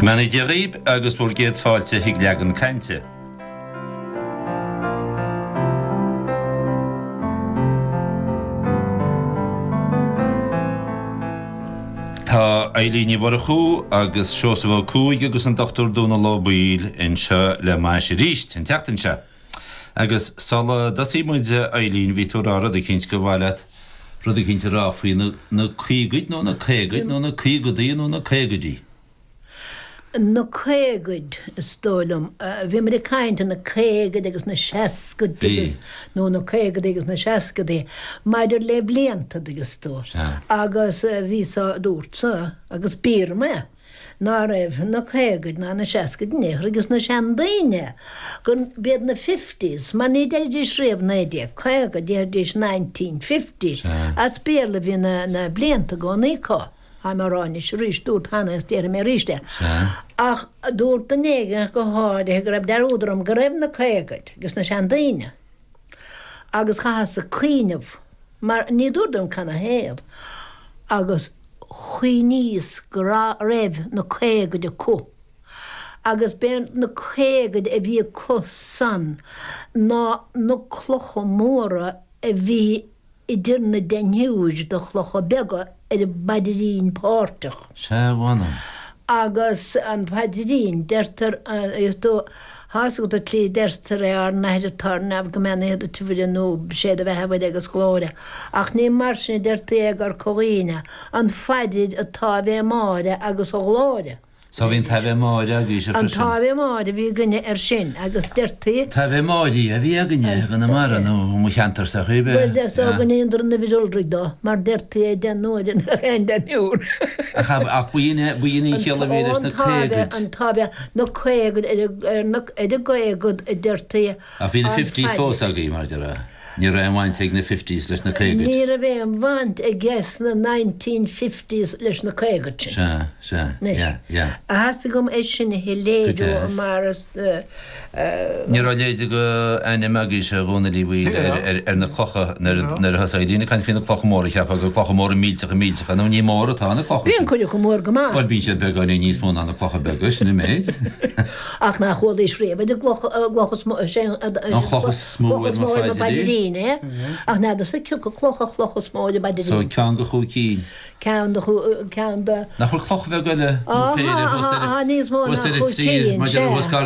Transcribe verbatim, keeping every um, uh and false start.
Go mbeannaí Dia dhaoib agus bhur gcéad fáilte chuig Leagan Cainte. Tá Eilín Ní Mhurchú agus Seosamh Ó Cuaig agus an Dochtúir Dónal Ó Baoill anseo le m'ais arís an tseachtain seo. Agus sula dtosaí muid a Eilín bhí tú ag rá rud eicínt gur mhaith leat rud eicínt a rá faoi na na caogaid nó na caogaid nó na caogadaí nó na caogaidí. Na caogaid, is dóigh liom. Bhí muid ag caint ar na caogaid agus na seascaid agus, nó na caogadaí agus na seascadaí, maidir le blianta, dtuigeanns tú. Agus bhí sa, dúirt sa, agus b'fhíor dom é, ná raibh na caogaid ná na seascaid in aon chor ages na seandaoine, go b'iad na fifties, mar ní deiridís riamh naoi déag caoga, déarfaidís nineteen fifty, as Béarla a bhí na, na blianta i gcónaí acu. Tá mé á rá anois arís, dúrt cheana is déarfaidh mé arís é. Ach dúirt duine éigin go háirithe go raibh dearúd orm go raibh na caogaid ages na seandaoine agus chaitheas-sa cuimhneamh mar ní dúradar dom canathaobh agus chuimhníos go raibh na caogaid acu agus b'é na caogaid a bhí acu san ná na clocha móra a bhí idir na deichniúir de chlocha beaga ar an bpaidrín páirteach. Sea, mh'anam. Agus an paidrín, deirtear, is dóigh, tá's agat an tslí a deirtear é, Ár nAthair atá ar neamh, go mbeannaithe do tabhaire nó sé do bheatha a Mhuire agus glóire. Ach ní mar sin a deirtí é i gCorca Dhuibhne, an phaidir an tÁivé Máire agus a Ghlóire. So bhí an tAibhe Máire agaibhse An freisin. tAibhe Máire a bhí againne air sin agus deirtí. An tAibhe Máire a bhí againne i gConamara nó i mo cheantarsa ar bith. Bhuel, is dóigh go ndéantar an uimhir iolraidh dó mar deirtí é deich n-uaire in aghaidh aon deichniúr. Ach ach b'in é b'in í an chiall a bhí leis An na tAibhe, caogaid. an tAibhe, na caogaid ar ar na ar an gcaogad a deirtí Ach bhí na an fifties phaidir. fós agaibh mar a déarfá. Ní raibh aon bhaint ag na fifties leis na caogaid. Ní raibh aon bhaint aige sna nineteen fifties leis na caogaid sin. Sea, sea, Anois, yeah, yeah. theastaigh uaim é sin a Go shoiléiriú deas. mar is. Ní raibh leithéid de ainm agaibhse a Dhónaill Uí Bhaoill ar, ar, ar na clocha nuair a, nuair a thosaigh Eileen ag caint faoi na clocha móra, cheapfá gur clocha móra millteacha millteacha, nó ní mór atá na clocha Bíonn sin. cuid acu mór go maith. Bhuel, bíonn siad beagáinín níos mó ná na clocha beaga, sin an méid. Ach nach chualaís riamh ar an gcloch, gcloch is mó, sé an, An chloch is mó cloch ar is mo mó ar mo phaidrín. phaidrín é. Ach n'fheadarsa cioca cloch an chloch is mó ar an So bpaidrín. ceann de chúig cinn. Ceann de chú, ceann de. Nach bhfuil cloch bheag eile nó Á, péire tá, thuas tá, ar tá níos mó thuas ná ar a chúig trí cinn, maidir le sea. thuas gar